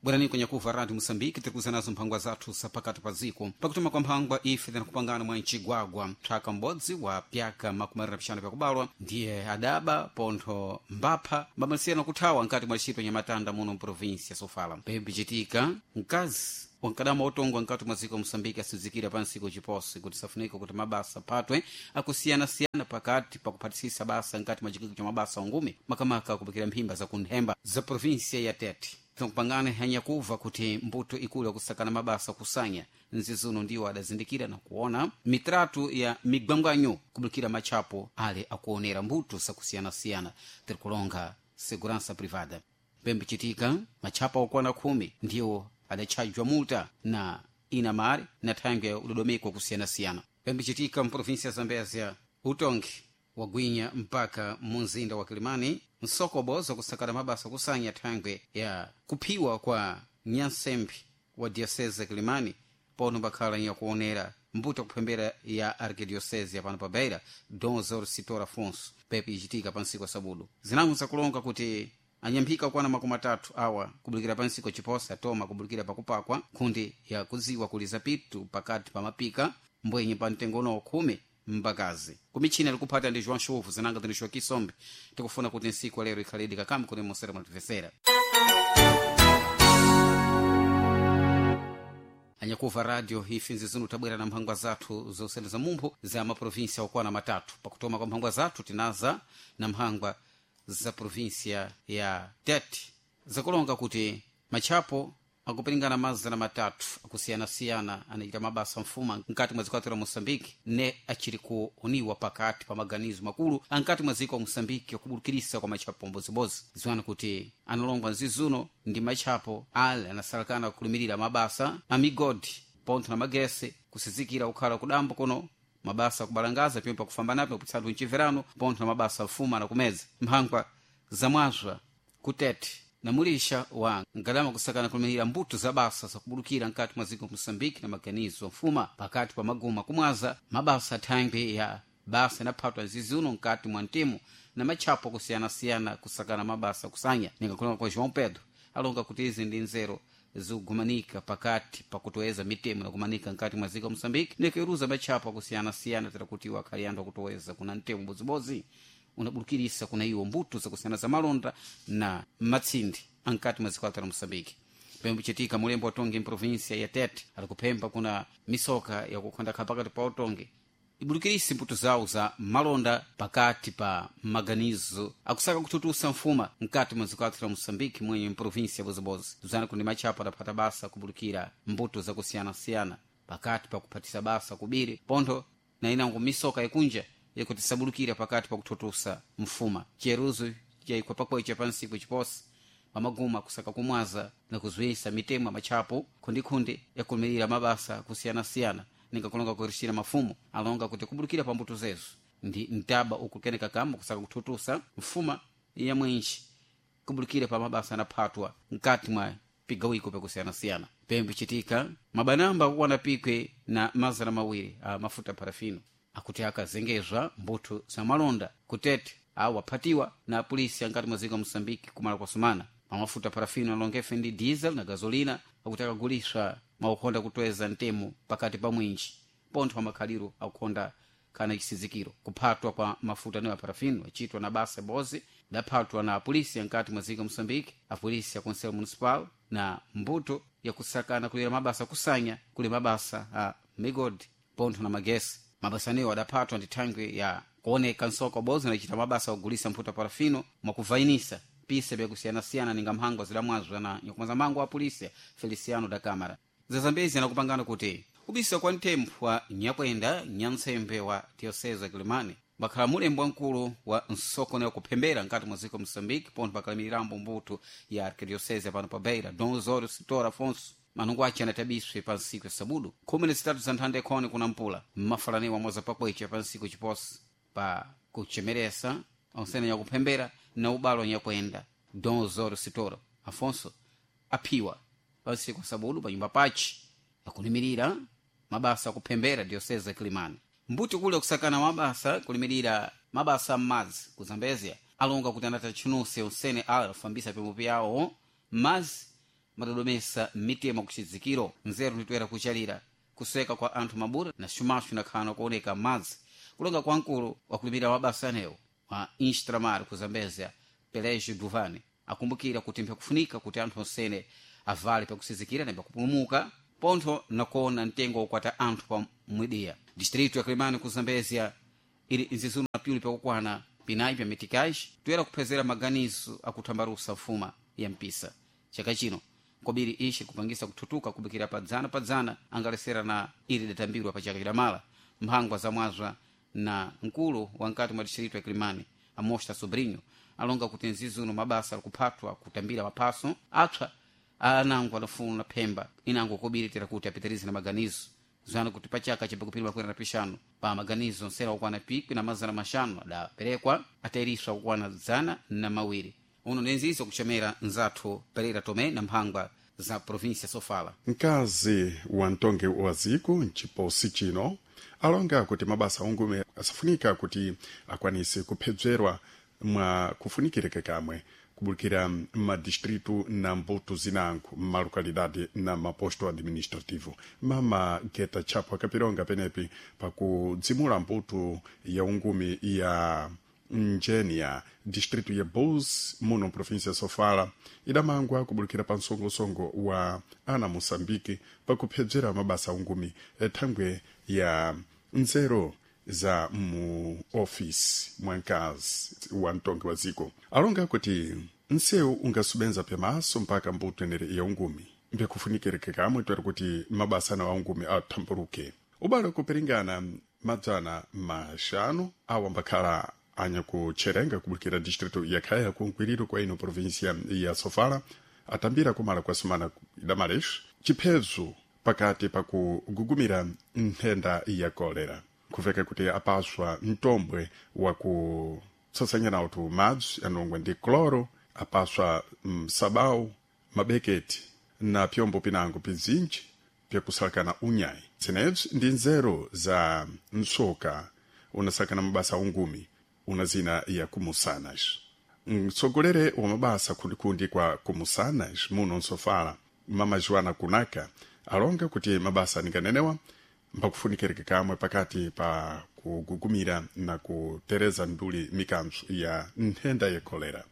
Bwerani kwenye kuva Radio Moçambique tikuza nazo mphangwa zathu zapakati pa dziko. Pakutuma kwa mphangwa ife tinakupangana mwa mcigwagwa mthaka m'bodzi wa pyaka 25 pyakubalwa ndiye adaba pontho mbapha mbamalisiyana kuthawa nkati mwa ntchito nyamatanda muno mprovinsi ya Sofala. Pembichitika mkazi wankadama otongwa nkati mwa dziko Moçambique asizikira pa nsiku chiposi kuti safunika kuti mabasa aphatwe akusiyanasiyana pakati pakuphatisisa basa nkati mwa chikiko cha mabasa ungumi makamaka kupikira mphimba zakunthemba za provinsia ya Tete. Tinakupangana hanyakuva kuti mbuto ikulu yakusakana mabasa kusanya nzizuno ndiwo adazindikira na kuona mitratu ya migwangwanyo kubukira matchapo ale akuonera mbuto zakusiyanasiyana tirikulonga segurança privada. Pembichitika matchapo okwana 10 ndiwo adatchajwa multa na inamari na thangwe ya udodomeko kusiyanasiyana. Pembichitika mprovinsia ya Zambezia utongi wagwinya mpaka munzinda wa Kilimani msokobo zakusakata mabasa kusanya thangwe ya kuphiwa kwa nyansembe wa diocese ya Kilimani pono bakhala nyakuonera mbuto kuphembera ya arquidiocese ya pano pa Beira Dom Zor Sitor Afonso pepi ichitika pa nsiku sabudu zinango zakulonga kuti anyamphika kwana 30 awa kubulikira pa nsiku chiposa atoma kubulikira pakupakwa nkhundi ya kudziwa kuli zapitu pakati pa mapika mbwenye pa mtengo uno 10 mbakazi kumichina likuphata ndi João Chuvu zinanga tinixwa kisombe tikufuna kuti nsiku lero ikhalidi kakamu kuti musere mwatipesera. Anyakuva radio ife nzizunu tabwera na mphangwa zathu zosene za mumphu za maprovinsia okwana 3. Pakutoma kwa mphangwa zathu tinaza na mphangwa za provinsia ya Tete zakulonga kuti matchapo akupiringana 300 akusiyanasiyana anachita mabasa mfuma nkati mwa dziko la Moçambique ne achiri kuoniwa pakati pa maganizo makulu ankati mwa dziko la Moçambique akubulukirisa kwa matchapo mbodzimbodzi. Ziwani kuti analongwa nzizuno ndi matchapo ale anasalakana kulumirira mabasa a migodi pontho na magese kusizikira kukhala kudambo kuno mabasa akubalangaza pimwe pakufambanapo kupitsatu mchiverano pontho na mabasa mfuma na kumeza mphangwa zamwazwa kutete na mulisha wa ngalama kusakana kulumirira mbuto za basa zakubulukira nkati mwa dziko Moçambique na maganizo mfuma pakati pa maguma kumwaza mabasa thangwe ya basa inaphatwa zizuno nkati mwa mtimu na matchapo kusiyanasiyana kusakana mabasa kusanya. Ningakulonga kwa João Pedro alonga kuti izi ndi nzero zikugumanika pakati pakutoweza mitemo nakumanika nkati mwa dziko Moçambique nikuiruza matchapo akusiyanasiyana tera kuti iwo akhali anthu akutoweza kuna mtemo mbodzimbodzi unabulukirisa kuna iwo mbuto zakusiyana za malonda na matsindi ankati mwa dziko la Moçambique. Pembuchitika mulembo wa Tongi mprovinsia ya Tete alikuphemba kuna misoka yakukhondakha pakati pa utongi ibulukirisi mbuto zawo za malonda pakati pa maganizo akusaka kututusa mfuma nkati mwa dziko la Moçambique mwenye mprovinsia ya Bozibozi. Tuzana kundi matchapo adaphata basa kubulukira mbuto zakusiyanasiyana pakati pa kuphatisa basa kubiri pontho na inango misoka ikunja yakuti sabulukira pakati pa kuthutusa mfuma. Chiyeruzo chayikwa pakwecha pa nsiku chiposi pamaguma kusaka kumwaza na kuzwisa mitemo ya matchapo khundikhundi yakulumirira mabasa kusiyanasiyana ningakulonga kuirishira mafumu alonga kuti kubulukira pa mbuto zezo ndi mtaba ukukeneka kamba kusaka kuthutusa mfuma ya mwinji kubulukira pa mabasa anaphatwa nkati mwa pigawiko pakusiyanasiyana. Pembe chitika mabanamba akukwana pikwe na 200 a mafuta parafino akuti akazengezwa mbuto za malonda kutete awo aphatiwa na apolisi ankati mwa dziko la Moçambique kumala kwa sumana. Pamafuta parafino alongefe ndi diesel na gasolina akuti akaguliswa mwakukhonda kutweza mtemo pakati pa mwinji pontho pamakhaliro akukhonda kana chisizikiro. Kuphatwa kwa mafuta anewo a parafino achitwa na basa bozi daphatwa na apolisi ankati mwa dziko la Moçambique, apolisi a conselho municipal na mbuto yakusakana kulira mabasa kusanya kuli mabasa a migodi pontho na magesi. Mabasa anewo adaphatwa ndi thangwe ya kuoneka nsoko bozi nachita mabasa akugulisa mphuta parafino mwakuvainisa pisa byakusiyanasiyana ninga mhango zidamwazwa na nyakumaza mango wa polisi Feliciano da Câmara. Zazambezi anakupangana kuti ubisa kwa ntempho wa nyakwenda nyantsembe wa diocese ya Kilimani bakhala mulembo wamkulu wa nsoko nayo kuphembera nkati mwa dziko Moçambique pontho bakhalamirambo mbuto ya arquidiocese pano pa Beira Dom Osório Sitor Afonso manungu ace anatabiswe pa nsiku ya sabudu 13 za nthanda ikhoni kuna mpula mmafalaniwa mwaza pakwecha pa nsiku chiposi pa kuchemeresa onsene nyakuphembera na ubalo nyakwenda Dom Osório Sitor Afonso aphiwa pa nsiku ya sabudu pa nyumba pace akulimirira mabasa akuphembera diocese ya Kilimani. Mbuti kule kusakana mabasa kulimirira mabasa m'madzi ku Zambezia alonga kuti anata tchunuse onsene ala afambisa pemwe pyawo m'madzi Madodomesa mitemo kuchidzikiro nzeru nditoera kuchalira kuseka kwa anthu mabura na xumaxu inakhana kuoneka madzi. Kulonga kwa mkulu wakulimira mabasa anewo wa Instramar ku Zambezia, Pelégio Duvani, akumbukira kuti mpyakufunika kuti anthu onsene avale pakusizikira na pakupulumuka pontho nakuona mtengo wokwata anthu pa mwidiya. Distrito ya Kilimani ku Zambezia ili nzizuno na pyuli pakukwana pinayi pya mitikais toyera kuphezera maganizo akuthambalusa mfuma ya mpisa chaka chino kobiri ishi kupangisa kuthutuka kubikira padzana padzana angalesera na ili datambirwa pa chaka chidamala. Mphangwa za mwazwa na mkulu wa nkati mwa distrito ya Kilimani, Amosta Sobrinho, alonga kuti nzizuno mabasa alikuphatwa kutambira maphaso apsa anango adafuna phemba inango kobiri tera kuti apitirize na maganizo zwana kuti pachaka chapakupiri makwera na pixanu pa maganizo nsera okwana 1500 adaperekwa atairiswa kukwana 200. Uno nenzizo kuchemera nzathu Pereira Tomé na mphangwa za província Sofala. Mkazi wa mtongi wa ziko mchiposi chino alonga kuti mabasa ungume asafunika kuti akwanise kuphedzerwa mwa kufunikireka kamwe kubulikira madistritu na mbuto zinango mmalocalidade na maposto administrativo. Mama Geta Chapo akapironga penepi pakudzimula mbuto ya ungumi ya Njenia, distrito ya Bus, muno província Sofala, idamangwa kubulikira pa msongosongo wa ana Moçambique pakuphedzera mabasa ungumi thangwe ya nzeru za mu ofisi mwankazi wa mtongi wa ziko. Alonga kuti nsewu ungasubenza pyamaso mpaka mbuto enere ya ungumi mbyakufunikireke kamwe twere kuti mabasa ana ungumi athamburuke. Ubale kupiringana 500 awo ambakhala anyakucherenga kubulikira distrito ya Khaya kunkwiriro kwa ino província ya Sofala atambira kumala kwa semana idamalex chiphezo pakati pakugugumira nthenda ya kolera kuveka kuti apaswa mtombwe wa kutsasanya nawo tu madzi anongwe ndi cloro, apaswa msabau, mabeketi na pyombo pinango pizinji pyakusalakana unyayi. Zenebzi ndi nzeru za msoka unasakana mabasa ungumi una zina ya kumusanas. Mtsogolere wa mabasa kundikundi kwa kumusanas muno nsofala, Mama Joana Kunaka, alonga kuti mabasa ninganenewa mpakufunikireka kamwe pakati pa kugugumira na kutereza nduli mikanzo ya nthenda ya kolera.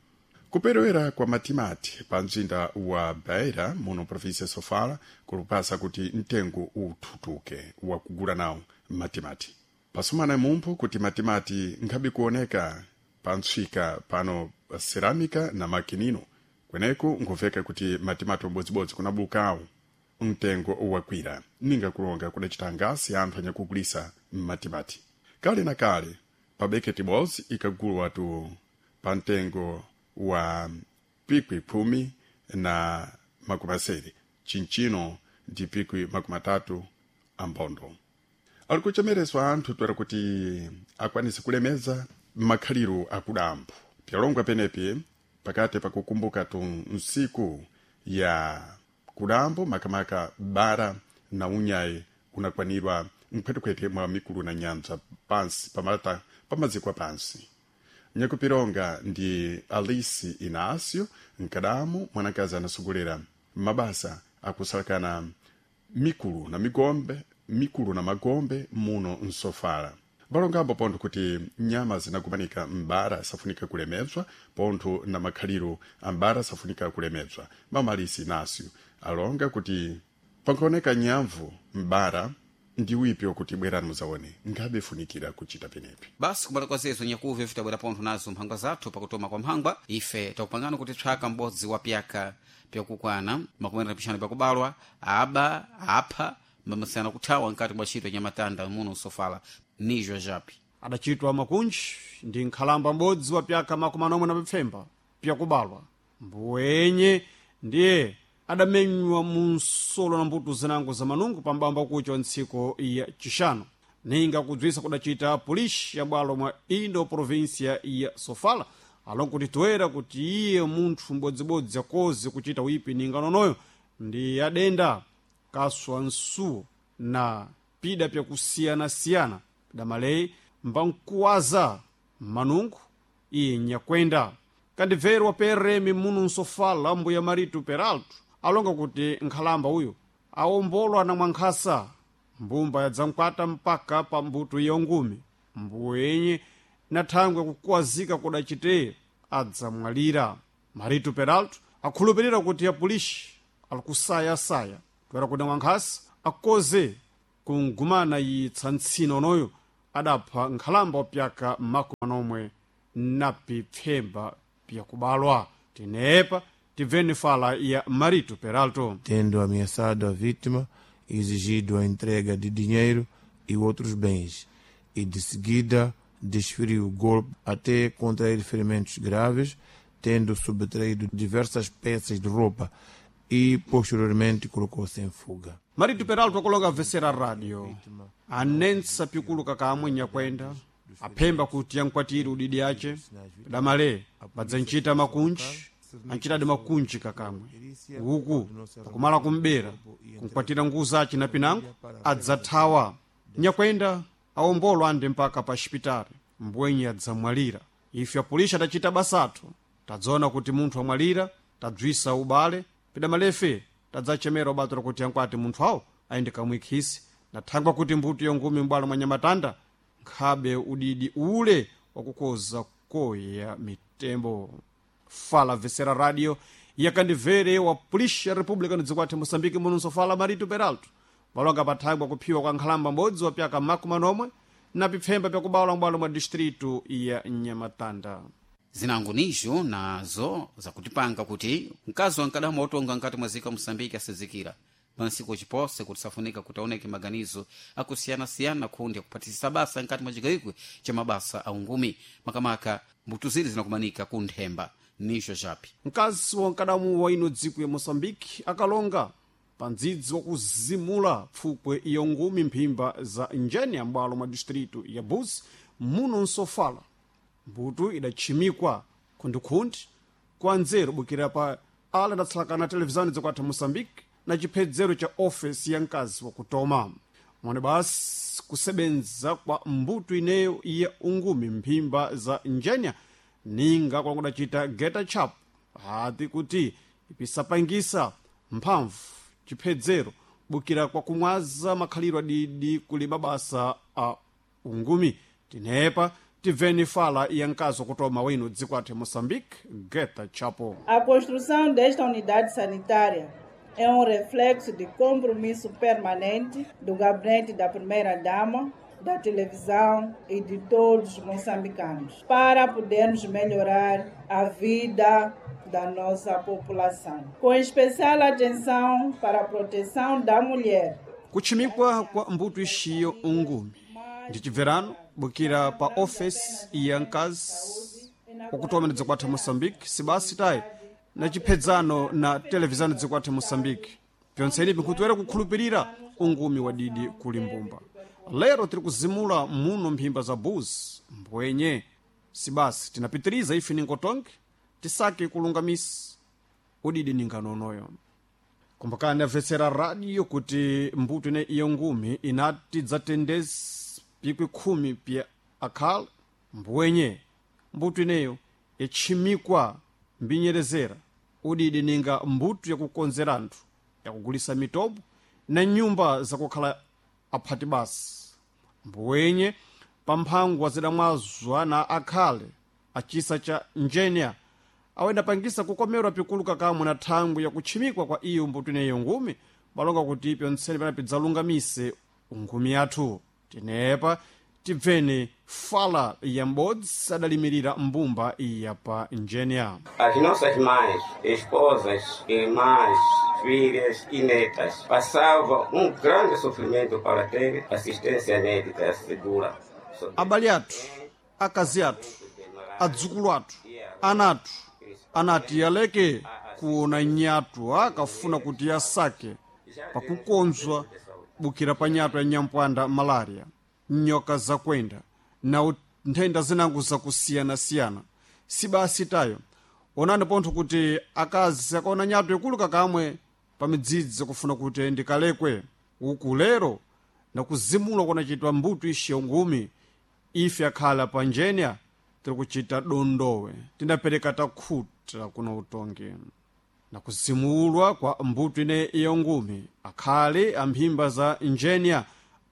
Kuperewera kwa matimati pa mzinda wa Beira muno província Sofala kulupasa kuti mtengo uthutuke wa kugula nawo matimati. Pasumana mumphu kuti matimati nkhabe kuoneka pa ntswika pano cerâmica na makinino kweneku nkuveka kuti matimati umbodzibodzi kunabukawo mtengo wakwira ninga kulonga kudacita ngasi anthu anyakugulisa matimati. Kale na kale pa beketi bozi ikagulwa tu pa mtengo wa pikwi 120, chinchino ndi pikwi 30 ambondo. Ali kuchemereswa anthu twera kuti akwanise kulemeza makhaliro akudambo pyalongwa penepi pakati pakukumbuka tu nsiku ya kudambo makamaka bara na unyayi unakwanirwa mkhwetekhwete mwa mikulu na nyanja pansi pamata pamaziko pansi. Nyakupironga ndi Alice Inácio Nkadamu, mwanakazi anasogolera mabasa akusalakana mikulu na migombe mikulu na magombe muno nsofala. Balongambo pontho kuti nyama zinakumanika m'bara safunika kulemedzwa pontho na makhaliro ambara safunika kulemedzwa. Mama Alice Inácio alonga kuti pankaoneka nyamvu m'bara ndi wipyo kuti bwerani muzaone ngabe funikira kuchita penepi. Basi kumala kwa zezo nyakuve vitabwera pontho nazo mphangwa zathu pakutoma kwa mphangwa ife takupangana kuti tswaka m'bodzi wa pyaka pyakukwana 25 pakubalwa aba apha mamasana kuthawa nkati mwa ntchito nyamatanda muno Sofala nizwa japi. Adachitwa makunji ndi nkhalamba m'bodzi wa pyaka 47 pyakubalwa mbuwenye ndiye adamenywa mu nsolo na mbuto zinango za manungu pambamba kucha wa ntsiko ya chixano. Ninga kudzwisa kudacita polisi ya bwalo mwa indo província ya Sofala alongo kuti toera kuti iye munthu m'bodzibodzi akoze kuchita wipi ninga nonoyo ndi adenda kaswa nsuwo na pida pyakusiyanasiyana damaleyi mbankuwaza manungu iye nyakwenda. Kandibvero wa PRM muno nsofala mbuya Marito Peralto. Alonga kuti nkhalamba uyu awombolwa na mwankhasa, mbumba yadzamkwata mpaka pa mbuto iyo ngumi. Mbuwenye na thangwe kukuwazika kudacite adzamwalira. Marito Peralto akhulupirira kuti apulishi alikusayasaya toera kuti mwankhasa akoze kungumana yitsa ntsina onoyo adapha nkhalamba wapyaka 40 na pipfemba pyakubalwa. Tinepa tibveni fala ya Marito Peralto. Tendo ameaçado a vítima, exigido a entrega de dinheiro e outros bens, e de seguida desferiu o golpe até contrair ferimentos graves, tendo subtraído diversas peças de roupa e posteriormente colocou-se em fuga. Marito Peralto akulonga vesera radio anensa pikuluka kamwe nyakwenda aphemba kuti yankwatire udidi ace damale badzanchita makunji anchitadi makunji kakamwe uku pakumala kumbera kunkwatira nguza ace na pinango adzathawa. Nyakwenda awombolwa ande mpaka pa xipitali mbwenye adzamwalira. Ife apulisha tachita basathu, tadzaona kuti munthu amwalira, tadzwisa ubale pidamalefe tadzachemera ubato lakuti yankwati munthu awo ayende kamwikhisi na thangwa kuti mbuto yongumi m'bwalo mwa Nyamatanda nkhabe udidi ule wakukoza koya mitembo. Fala vesera radio yakandivere wa pulisha republika nidzikwathe Moçambique mununso fala Marito Peralto valonga pathangwa kuphiwa kwa nkhalamba m'bodzi wa pyaka 40 na pipfemba pyakubalwa m'bwalo mwa distritu ya Nyamatanda. Zinango nizo nazo zakutipanga kuti mkazi wankadama otonga nkati mwa zika Moçambique asizikira pansiku chipose kuti safunika kuti aoneke maganizo akusiyana-siyana kundi akuphatisisa basa nkati mwa chigayikwe cha mabasa aungumi makamaka mbuto zili zinakumanika ku nthemba nizo chapi. Mkazi wa nkadamu wa ino dziko ya Moçambique akalonga pa ndzidzi wakuzimula pfupwe iyo ngumi mphimba za njeni ya m'bwalo mwa distritu ya Buzi muno nsofala. Mbuto idatchimikwa khundikhundi kwa nzeru bukira pa ala adatsalakana televizani zakwatha Moçambique na chiphedzero cha ofesi ya mkazi wakutoma mwene basi kusebenza kwa mbuto ineyo ya ungumi mphimba za njenya ninga kwakudacita geta chap hati kuti ipisapangisa mphamvu chiphedzero bukira kwa kumwaza makhaliro adidi kuli mabasa a ungumi. Tinepa tibveni fala ya mkazi wakutoma wino dziko athu Moçambique, Geta Chapo. A construção desta unidade sanitária é reflexo de compromisso permanente do gabinete da primeira-dama, da televisão e de todos os moçambicanos, para podermos melhorar a vida da nossa população, com especial atenção para a proteção da mulher. Kuchimikwa kwa mbuto ixiyo ungumi ndi chibverano bukira pa ofesi ya mkazi wakutoma ndi dziko athu Moçambique sibasi tayi na chiphedzano na televizani dziko athu Moçambique pyontseni pinkhutiwere kukhulupirira ungumi wa didi kuli mbumba. Lero tiri kuzimula muno mphimba za Buzi mbwenye sibasi tinapitiriza ife ningotonke tisake kulungamisa udidi ninganonoyo. Kumbukani amvetsera radio kuti mbuto ine iyo ngumi inati dzatendezi pikwi 10 pya akhala mbwenye mbuto ineyo yatchimikwa mbinyerezera udidi ninga mbuto yakukonzera anthu yakugulisa mitobo na nyumba zakukhala aphati basi mbwenye pamphangwa zidamwazwa na akhale achisa cha njenya awendapangisa kukomerwa pikuluka kamwe na thangwi yakutchimikwa kwa iyo mbuto ineyo ngumi balonga kuti pyontsene panapi dzalungamise ngumi yathu. Tinepa tibveni fala ya m'bodzi adalimirira mbumba iya pa njenya. As nossas mães, esposas, irmãs, filhas e netas passavam grande sofrimento para ter assistência médica segura. Abale athu, akazi athu, adzukulu athu, ana athu anati aleke kuona nyatu akafuna kuti asake pakukonzwa bukira pa nyatu ya nyampwanda malaria, nyoka zakwenda na nthenda zinango zakusiyanasiyana. Sibasi tayo onani pontho kuti akazi akaona nyatu ikulu kakamwe pa midzidzi kufuna kuti ndikalekwe uku lero nakuzimula kunachitwa mbuto ixiyo ngumi ife akhala pa njenya tiri kuchita dondowe tindapereka takhuta kuno utongi. Na kuzimulwa kwa mbuto ine ya ungumi, akhale amphimba za injeniya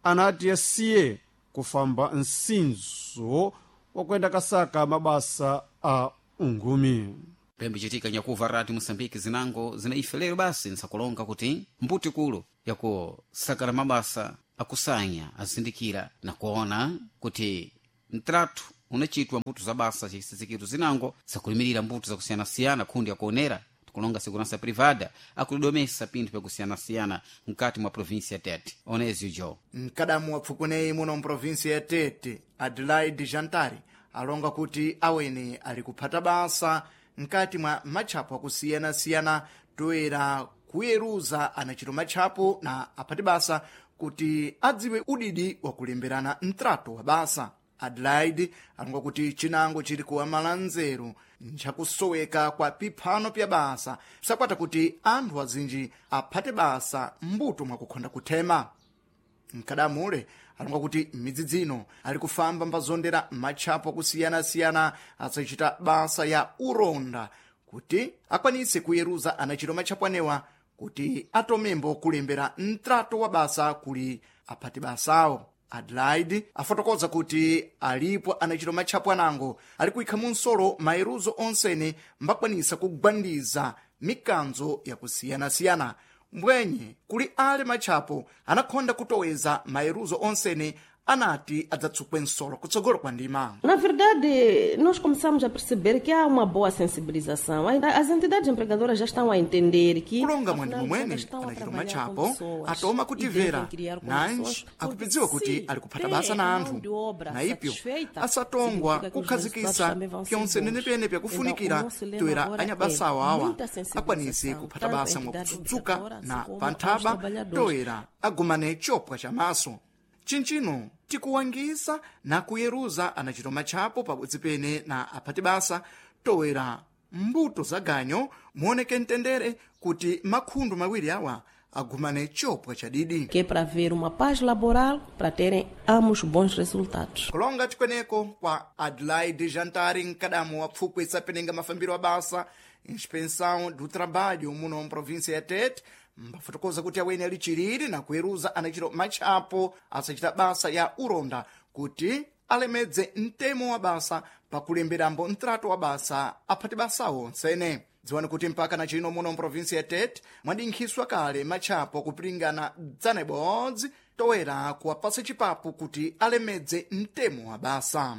anati asiye kufamba msinzo wakuenda kasaka mabasa a ungumi. Pembe chitika nyakuva rati Moçambique zinango zina ife lero basi nsakulonga kuti mbuti kulu yakusakala mabasa akusanya azindikira na kuona kuti mtratu unachitwa mbuto za basa chisizikiro zinango zakulimirira mbuto zakusiyanasiyana khundi yakuonera tikulonga segurança privada akulidomesa pinthu pyakusiyanasiyana mkati mwa província ya Tete. Onezio jo Mkadamu wa pfukuneyi muno mprovinsi ya Tete, Adelaide Jantari, alonga kuti awene ali kuphata basa mkati mwa matchapo akusiyana-siyana toera kuyeruza anachito matchapo na aphati basa kuti adziwe udidi wakulemberana mtrato wa basa. Adelaide alonga kuti chinango chili kuwamala nzeru nchakusoweka kwa piphano pya basa sakwata kuti anthu azinji aphate basa mbuto mwakukhonda kuthema. Mkadamule alonga kuti midzi dzino ali kufamba mbazondera matchapo akusiyana-siyana asachita basa ya uronda kuti akwanise kuyeruza anachito matchapo anewa kuti atomembo kulembera mtrato wa basa kuli aphati basawo. Adelaide afotokoza kuti alipo anachito matchapo anango ali kuyikha munsolo mayeruzo onsene mbakwanisa kugwandiza mikanzo yakusiyana-siyana, mbwenye kuli ale matchapo anakhonda kutoweza mayeruzo onsene anati adzatsukwe nsolo kutsogolo kwa ndima. Na verdade, nós começamos a perceber que há uma boa sensibilização. As entidades empregadoras já estão a entender que Kulonga afinal, mwandi elas momwene estão a anachito trabalhar com matchapo pessoas atoma e kutivera devem criar nanji condições, porque akupidziwa kuti se ali kuphata têm basa na a mão anthu de obra na ipyo satisfeita, asatongwa significa que os resultados kukhazikisa também vão ser pyonse bons. nenepene pyakufunikira Então, o nosso lema toera agora é anyabasawo awa muita akwanise sensibilização, kuphata tanto à basa entidade mwakutsutsuka empregadora, assim na como aos panthaba trabalhadores. toera agumane chopwa chamaso. Chinchino tikuwangisa na kuyeruza anachito matchapo pabodzi pene na aphati basa toera mbuto za ganyo muoneke mtendere kuti makhundu mawiri awa agumane chopwa chadidi. Que é para haver uma paz laboral, para terem ambos bons resultados. Kulonga tikweneko kwa Adelaide Jantari, mkadamu wa pfukwe isapenenga mafambiro a basa Inspeção do Trabalho muno mprovinsia ya Tete, mbafotokoza kuti awene ali chiriri na kuyeruza anachito matchapo asachita basa ya uronda kuti alemedze mtemo wa basa pakulemberambo mtrato wa basa aphati basawo onsene. Dziwani kuti mpaka na chino muno mprovinsi ya Tete mwadinkhiswa kale matchapo kupilingana 100 toera kuwapasa chipapu kuti alemedze mtemo wa basa.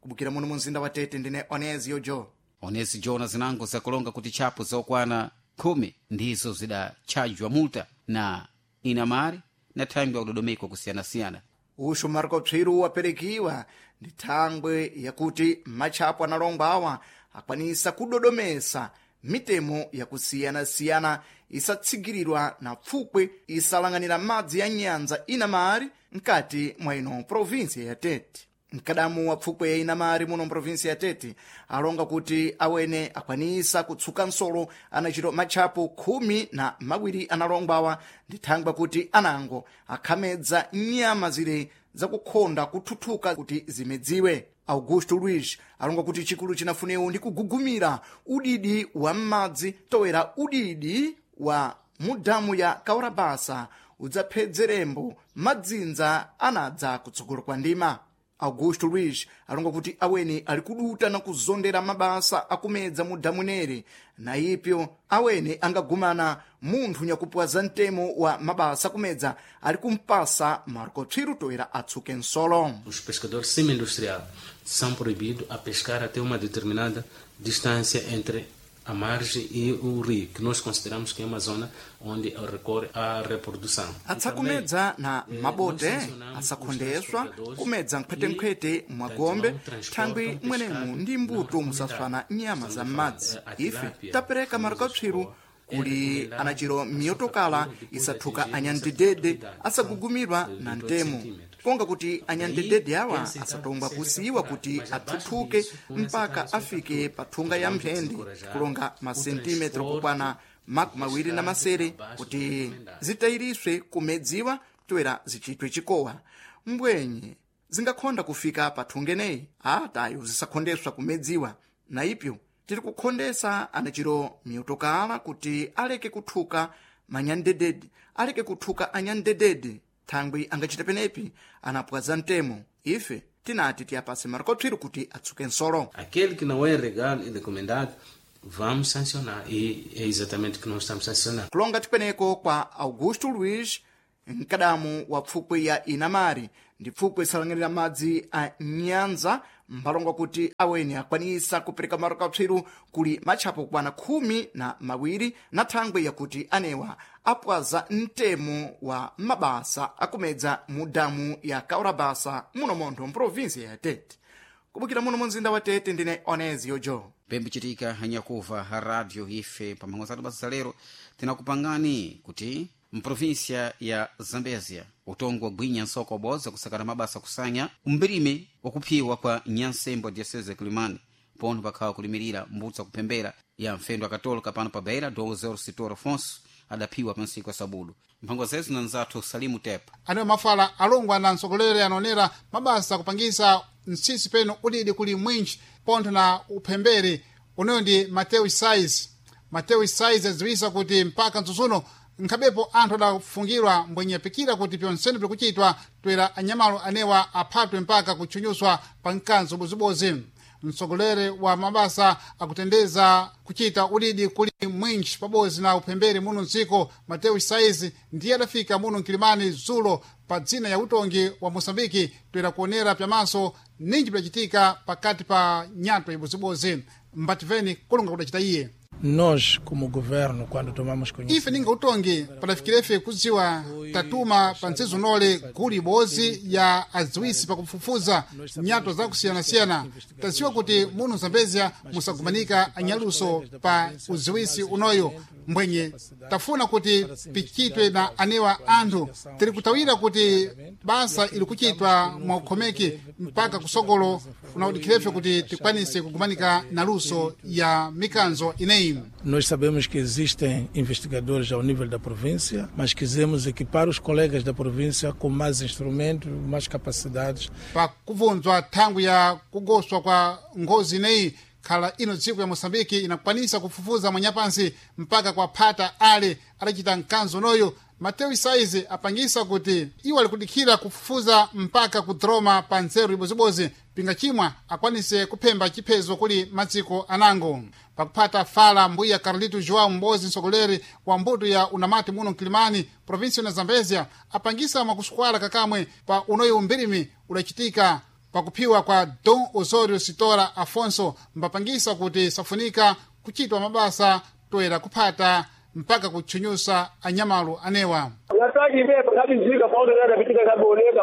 Kubukira muno mu mzinda wa Tete, ndine Onezio Jo. Onezi jona zinango zakulonga kuti tchapo zokwana 10 ndizo zidatchajwa multa na inamari na thangwi yakudodomekwa kusiyanasiyana. Uxu Marco Pswiru waperekiwa ndi thangwe yakuti matchapo analongwa awa akwanisa kudodomesa mitemo yakusiyana-siyana isatsigirirwa na pfukwe isalang'anira madzi ya nyanza inamari mkati mwa ino provinsia ya Tete. Mkadamu wa pfukwe ya inamari muno mprovinsi ya Tete alonga kuti awene akwanisa kutsuka nsolo anachito matchapo 12 analongwawa ndi thangwa kuti anango akhamedza nyama zile zakukhonda kuthuthuka kuti zimedziwe. Augusto Luiz alonga kuti chikulu chinafunewo ndi kugugumira udidi wa m'madzi toera udidi wa mudamu ya Kaurabasa udzaphedzerembo madzinza anadza kutsogolo kwa ndima. Augusto Luiz alonga kuti awene ali kuduta na kuzondera mabasa akumedza mu damu nere na ipyo awene angagumana munthu nyakupwaza mtemo wa mabasa akumedza ali kumpasa Marco Pswiru toera atsuke nsolo. Os pescadores semi-industrial são proibidos a pescar até uma determinada distância entre a margem e o rio, que nós consideramos que é uma zona onde recorre à reprodução. Atsakumedza na mabote asakhondeswa kumedza nkhwetenkhwete mwagombe thangwi mwenemu ndi mbuto musaswana nyama za m'madzi. Ife tapereka marikapswiru kuli anachiro miyotokala isathuka anyandedede asagugumirwa na mtemo, konga kuti anyandedede awa asatongwa kusiyiwa kuti athuthuke mpaka afike pa thunga ya mphende kulonga masentimetro kukwana 26 kuti zitayiriswe kumedziwa toera zichitwe chikowa. Mbwenye zingakhonda kufika pa thunga eneyi atayo zisakhondeswa kumedziwa na ipyo Tiri kukhondesa anachiro miutokala kuti aleke kuthuka manyandedede, aleke kuthuka anyandedede thangwi angachita penepi anapwaza mtemo. Ife tinati tiyapase marikopsiro kuti atsuke nsolo. Aquele que não é legal e recomendado, vamos sancionar. E é exatamente o que nós estamos sancionando. Kulonga tipeneko kwa Augusto Luiz, mkadamu wa pfukwe ya Inamari ndi pfukwe isalang'anira madzi a Nyanza, mphalonga kuti aweni akwanisa kupereka marikopsiro kuli matchapo kwana 12 na thangwi yakuti anewa apwaza mtemo wa mabasa akumedza mu damu ya Kaurabasa muno montho mprovinsia ya Tete. Kubukira muno mu mzinda wa Tete, ndine Onezio Joe. Pembichitika hanyakuva ha radio ife pamhango zathu basa lero tinakupangani kuti mprovinsia ya Zambezia utongo wagwinya nsoko waboza kusakana mabasa kusanya umbirime wakuphiwa kwa nyansembo diocese Kilimani pono pakhawa kulimirira mbutsa kuphembera ya mfendo akatolika pano pa Beira Dom Zero Sitor Afonso adaphiwa pansiku ya sabudu. Mphango zezu na nzathu Salimu Tepa. Anewo mafala alongwa na mtsogoleri anaonera mabasa kupangisa mtsitsi peno udidi kuli mwinji pontho na uphembere uneyo ndi Mateo Sais. Mateo Sais adziwisa kuti mpaka mtsutsuno nkhabepo anthu adafungirwa mbwenyepikira kuti pyonsene pikuchitwa toera anyamalo anewa aphatwe mpaka kutchunyuswa pa mkanzo ubozibozi. Mtsogoleri wa mabasa akutendeza kuchita udidi kuli mwinji pabodzi na uphembere muno mdziko Mateo Saizi ndiye adafika muno mkilimani zulo pa dzina ya utongi wa Moçambike toera kuonera pyamaso ninji pyacitika pakati pa nyatwa ibozibozi. Mbativeni kulunga kudacita iye. Nós, como governo, quando tomamos Ife ninga utongi padafikirefe kudziwa tatuma pa ntsizo nole gulu ibodzi ya adziwisi pakufufuza nyato zakusiyanasiyana. Tadziwa kuti muno Zambezia musagumanika anyaluso pa udziwisi unoyo mbwenye tafuna kuti pichitwe na anewa anthu. Tiri kutawira kuti basa ili kuchitwa mwakukhomeki mpaka kusogolo unaudikirefe kuti tikwanise kugumanika na luso ya mikanzo ineyi. Nós sabemos que existem investigadores ao nível da província, mas quisemos equipar os colegas da província com mais instrumentos, mais capacidades. Pakubvunzwa thangwi ya kugoswa kwa ngozi ineyi khala ino dziko ya Moçambike inakwanisa kufufuza mwanyapansi mpaka kwa phata ale adachita mkanzo unoyo. Mateo Isaizi apangisa kuti iwo alikudikhira kufufuza mpaka kudroma pa nzeru ibozibozi pinga chimwa akwanise kuphemba chiphezo kuli madziko anango. Pakuphata fala mbuya Carlito João Mbozi, mtsogoleri wa mbuto ya unamati muno mkilimani provinsi ya Zambezia, apangisa mwakusukwala kakamwe pa unoyo umbirimi udachitika pakuphiwa kwa Dom Osorio Sitora Afonso, mbapangisa kuti safunika kuchitwa mabasa toera kuphata mpaka kutchunyusa anyamalu anewa. Nataki pepa kabizika paulo yadapitika kaboneka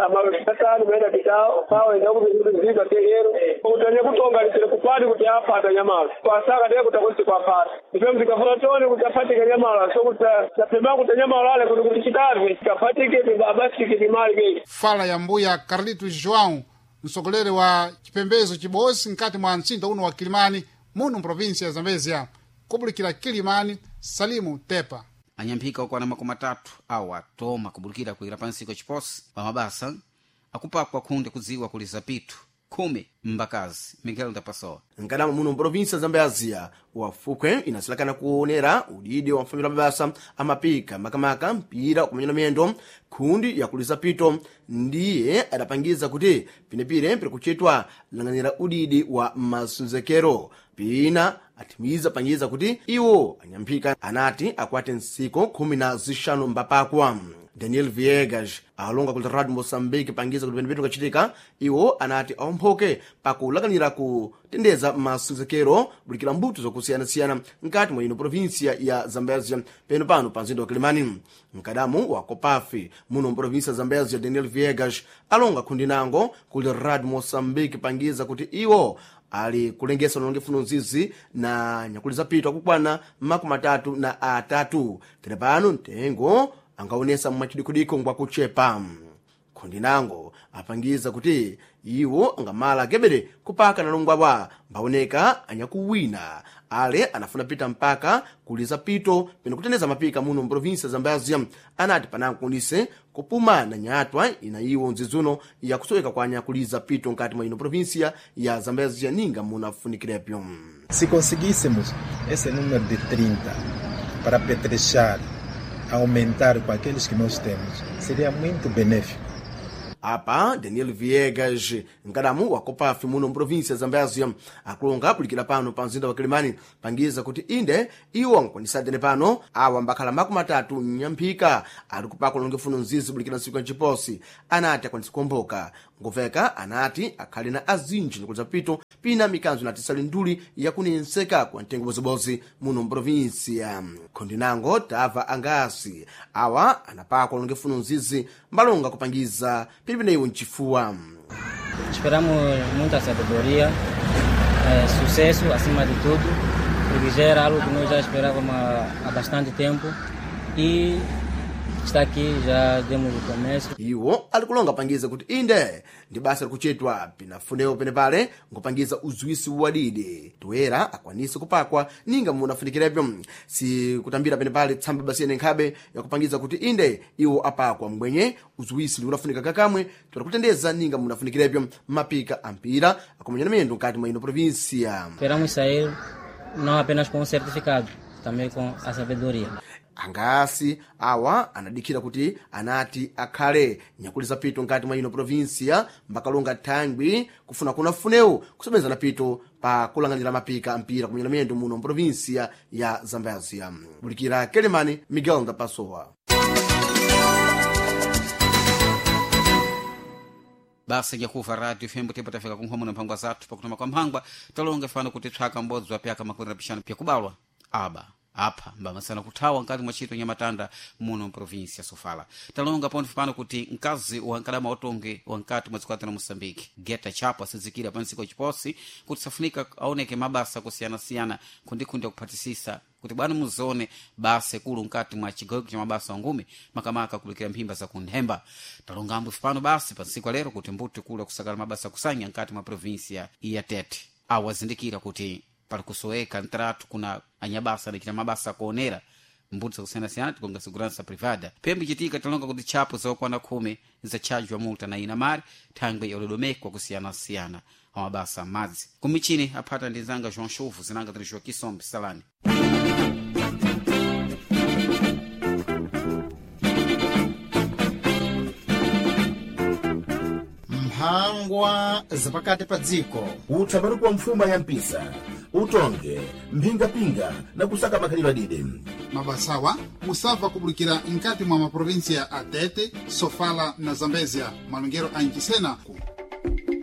amasatani maidapita pawo endakubizika tehero kutanya kutonganisire kupati kuti apata nyamala kwasaka tee kutakusi kwapata ife mzikafuna tone kuti afatike nyamala so kuti tapema kuti nyamala ale kuti kuti chitave kafatike abasike timali kei. Fala ya mbuya Carlito João, mtsogoleri wa chipembezo chibosi mkati mwa mtsinda uno wa Kilimani muno mprovinsi ya Zambezia. Kubulikira Kilimani, Salimu Tepa. Anyamphika okwana 30 awo atoma kubulikira kuira pansi kwa chiposi pa mabasa akupakwa khunde kudziwa kuli zapitu 10 mbakazi. Miguel Ndapasowa. Nkadama muno mprovinsia Zambezia wafukwe inasilakana kuonera udidi wa mfamilo mabasa amapika makamaka mpira kumenya miyendo khundi yakulisa pito ndiye adapangiza kuti pinepire piri lang'anira udidi wa masonzekero pina athimiza pangiza kuti iwo anyamphika anati akwate ntsiko 15 mbapakwa. Daniel Viegas alonga ku Radio Moçambique pangiza kuti penepene kachitika iwo anati aomphoke pakulakanira kutendeza masonzekero bulikira mbuto zokusiyanasiyana mkati mwa ino provinsia ya Zambezia peno pano pa mzinda wa Kilimani. Mkadamu wa Kopafi muno mprovinsia ya Zambezia Daniel Viegas alonga khundi nango kuli Radio Moçambique pangiza kuti iwo ali kulengesa longe funo nzizi na nyakuli zapitwa kukwana 33 tere pano mtengo angaonesa mmachidikudiko ngwakuchepa. Khondinango apangiza kuti iwo angamala akebere kupaka nalongwawa mbaoneka anyakuwina ale anafuna pita mpaka kuliza pito peno kutendeza mapika muno mprovinsia Zambezia. Anati panankonise kupuma na nyatwa ina iwo nzizuno yakusoweka kwa anyakuliza pito nkati mwa ino provinsia ya Zambezia ninga munafunikilepyo. Se conseguíssemos esse número de 30 para apetrechar, aumentar com aqueles que nós temos, seria muito benéfico. Apa Daniel Viegas, mkadamu wa Copafi muno mprovinsia Zambezia, akulonga pulikira pano pa mzinda wa Kilimani pangiza kuti inde iwo ankwanisatene pano awa mbakhala 30 mnyamphika ali kupaka ulongefuno mzizi pulikira ntsiku ya nciposi. Anati akwanisa kuomboka nguveka, anati akhale na azinji nikuliza pito pina mikanzo inatisali nduli yakunenseka kwa mtengo bozibozi muno mprovinsia. Khondinango tava angasi awa anapakwa ulongefuno mzizi mbalonga kupangiza pilipineyo mchifuwa. Esperamos muita sabedoria, sucesso acima de tudo, porque já era algo que nós já esperávamos há bastante tempo e está aqui, já demos o começo. Iwo alikulonga pangiza kuti inde ndi basa likuchitwa pinafunewo penepale nkupangiza uziwisi wadidi toera akwanise kupakwa ninga munafunikirepyo. Si kutambira penepale tsamba basiyene nkhabe yakupangiza kuti inde iwo apakwa mbwenye uziwisi liunafunika kakamwe toera kutendeza ninga munafunikirepyo mapika ampira akumenya miyendo nkati mwa ino provinsia. Esperamos sair não apenas com um certificado, também com a sabedoria. Angasi awa anadikira kuti anati akhale nyakuliza pito nkati mwa ino provinsia mbakalonga thangwi kufuna kuna funewu kusebenzana pito pa kulang'anira mapika ampira kumenya miyendo muno mprovinsia ya Zambezia. Bulikira Kelemani, Miguel Ndapasowa. Basa nyakuva radio fembo tembo tafika kunkhomo na mphangwa zathu pakutoma kwa mphangwa talonga fano kuti tswaka mbodzi wa pyaka 25 pyakubalwa aba apha mbamasana kuthawa nkati mwa ntchito nyamatanda muno mprovinsia ya Sofala. Talonga ponto pano kuti mkazi wa nkadama otonge wankati mwa dziko la Moçambique Geta Chapo asizikira pa ntsiko chiposi kuti safunika aoneke mabasa kusiyanasiyana kundikhundi akuphatisisa kuti bwana muzone basa ikulu nkati mwa chigawiko cha mabasa angumi makamaka kulikira mphimba za kunthemba. Talonga ambwe pano basi pa ntsiku lero kuti mbuti kulu akusakala mabasa kusanya nkati mwa provinsia ya Tete awazindikira kuti pali kusoweka ntratu kuna anyabasa adachita mabasa akuonera mbuti zakusiyanasiyana tikonga segurança privada. Pembe chitika talonga kuti tchapo zokwana 10 zatchajwa multa na inamari thangwe yalodomekwa kusiyanasiyana amabasa amadzi kumichini aphata ndi nzanga João Chuvu zinanga tiri Joaquim Sombe Salani. Mphangwa zapakati pa dziko. Utsambaruko wa mfuma ya mpisa utonge mphingapinga na kusaka makhalidwe adide. Mabasawa musabva kubulikira nkati mwa maprovinsia a Tete, Sofala na Zambezia malongero a Nchisena ku